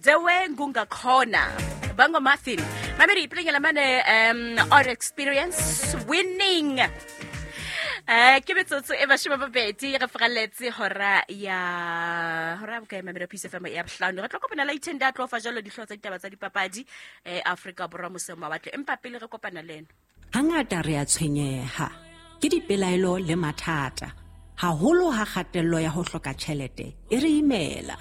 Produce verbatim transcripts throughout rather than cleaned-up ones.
Dewe Ngungakhona Bango Martin Mamedi playing la mane um our experience winning. Eh ke metsotso e mashome a mabedi re fraletse hora ya hora bokae Mamedi Peace F M ya bohlano. Re tlo kopana la itenda tlo fa jalo dihlooho tsa ditaba tsa dipapadi eh Afrika Borwa moseng mawatle empa pele re kopana le ena. Hangata re a tshwenyeha ke dipelaelo le mathata haholo ha kgatello ya ho hloka tjhelete e re imela.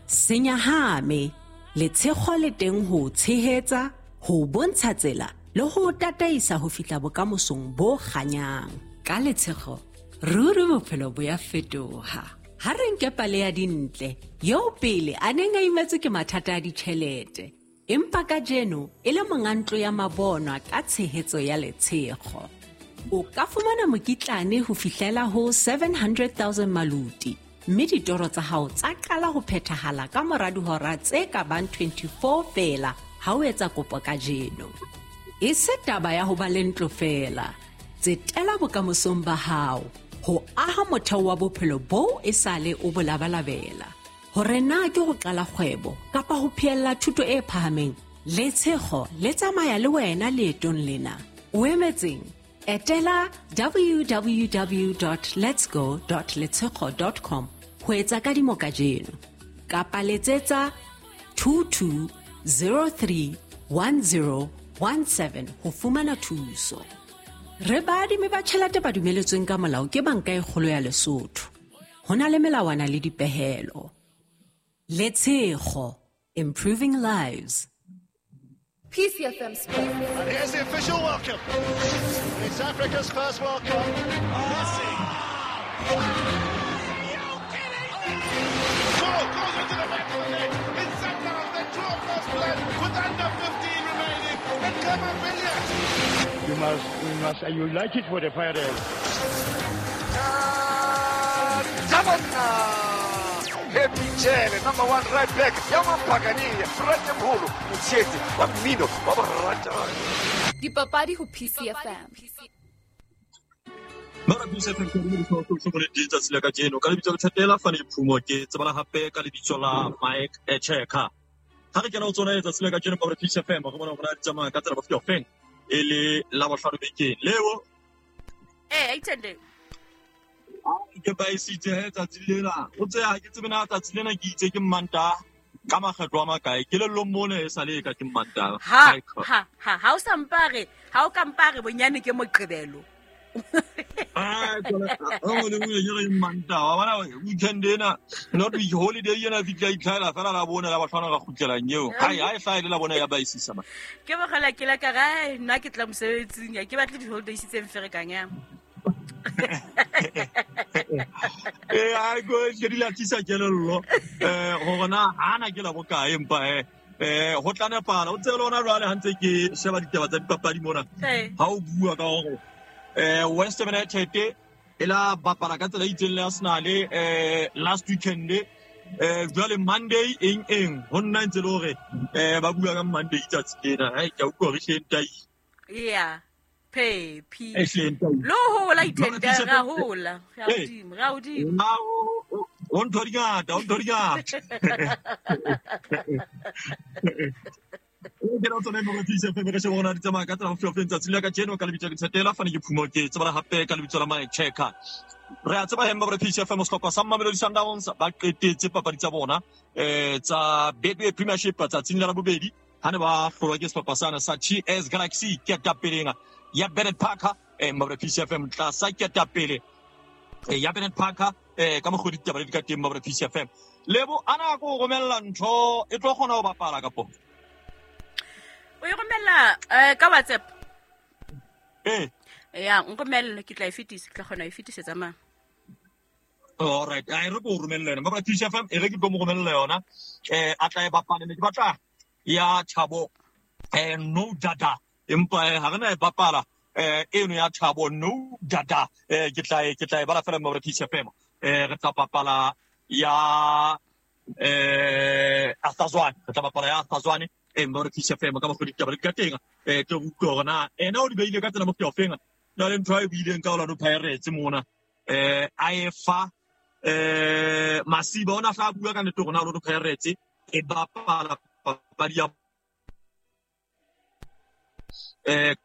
Senyahame letshego le teng ho tshehetsa ho bontsha tsela le ho tataisa ho fihla bokamosong bo kganyang. Ka letshego ruri bophelo bo ya fetoha. Ha re nke pale ya Dintle eo pele a neng a imetswe ke mathata a ditjhelete empa kajeno e le monga ntlo ya mabonwa ka tshehetso ya letshego. O ka fumana mokitlane ho fihlela ho seven hundred thousand maluti mme ditoro tsa hao tsa qala ho phethahala ka mora dihora tse ka bang twenty-four feela ha o etsa kopo kajeno. E se taba ya ho ba le ntlo feela. Tsetela bokamosong ba hao ho aha motheo wa bophelo boo e sale o bo labalabela. Hore na ke ho qala kgwebo kapa ho phehella thuto e phahameng, letshego le tsamaya le wena leetong lena. O emetseng? Etela w w w dot letsgo dot letshego dot com ho etsa kadimo kajeno kapa letsetsa two two zero three one zero one seven ho fumana thuso. Re baadimi ba tjhelete ba dumeletsweng ka molao ke Banka e Kgolo ya Lesotho. Ho na le melawana le dipehelo. Letshego, improving lives. P C F M Sports. And here's the official welcome. It's Africa's first World Cup. Messi. Goal goes into the back of the net. It's Sundowns. They draw first blood with under fifteen remaining. And Khama Billiat. You must, we must, and you like it for the Pirates. Happy Jele, number one right back. Yama Pagani, Frate Mholo, Motshete, wa mmino, wa borata. Dipapadi ho P C F M. Mara P C F M ke le ditho tsohle mo le letsatsi la kajeno ka lebitso la Thetela Fane Phumo ke tsebala hape ka lebitso la Mike Echeka. Ha re kena ho tsona letsatsi la kajeno ka P C F M re bona hore di tsamaya ka tsela ba feng e le la bohlano bekeng. Leo eh aitende ke ba isitse tsatsi lena o tse ha ke tsebe na tsatsi lena ke itse ke mmanta ka makgetlo a makae ke lellong mona e sale ka ke mmanta ha ha ha ha o sa mpare ha o ka mpare bonyane ke moqebelo ah tsona o le nngwe ke re mmanta wa bona weekend ena not week holiday ena fitla itlhaela fela la bona la batlhwana ga kgutlelang eo hai ha e hlaele la bona ya ba isisa ma ke bogela ke la ka ga nna ke tla mosebetsing ya ke batle di holidays tse mferekang ya eh a go ke di latisa kelello eh hore na ana ke la bokae empa eh eh ho tla nepala o tsebe lona jwale ha ntse ke sheba ditaba tsa dipapadi mona ha o bua ka hore eh West Ham United e la bapala ka tsela e itseng le Arsenal eh last weekend eh jwale Monday eng eng ho nna ntse le hore eh ba bua ka Monday tsatsi lena hai ke a utlwa re hleng yeah P lo hola itende ra hola ra hodimo ra hodimo o ntho di ngata o ntho di ngata ke ra tsona mo re fise fe re sheba rona di tsamaya ka tsela ho fihla tsatsi la kajeno ka lebitso ke Thetela Fane ke Phumo ke tsebala hape ka lebitso la Mike Checker re a tseba hemba re fise fe mohlopha sa Mamelodi Sundowns ba qetetse papadi tsa bona eh tsa Betway Premiership tsatsing la bobedi ha ne ba hlolwa ke sehlopha sana sa T S Galaxy ke tapeleng ya Bennett Parker eh Mabra P C F M tlasa ketapele eh ya Bennett Parker eh ka mokgodi ditaba di ka teng Mabra P C F M lebo ana go romella ntho e tlo kgona ho bapala kapo o e romella eh ka WhatsApp eh ya nromelle ke tla e fetisa ke tla kgona e fetisetsa mang. All right a re go romella yona Mabra P C F M e re ke tlo mo romella yona eh a tla e bapala ne ke batla ya Thabo eh no dada empa ha re na e bapala eh eno ya Thabo no dada eh ke tla ke tla e bala fela mo re P C F M eh re tla bapala ya eh Athazwane re tla bapala ya Athazwane eh mo re P C F M ka mo go ditaba di ka teng eh tlo utlwa hore na ena o di beile ka tsela mo feng na le ntho e buileng ka Orlando Pirates mona eh a e fa eh Masiba ona hla bua ka nete hore na Orlando Pirates E bapala papadi ya eh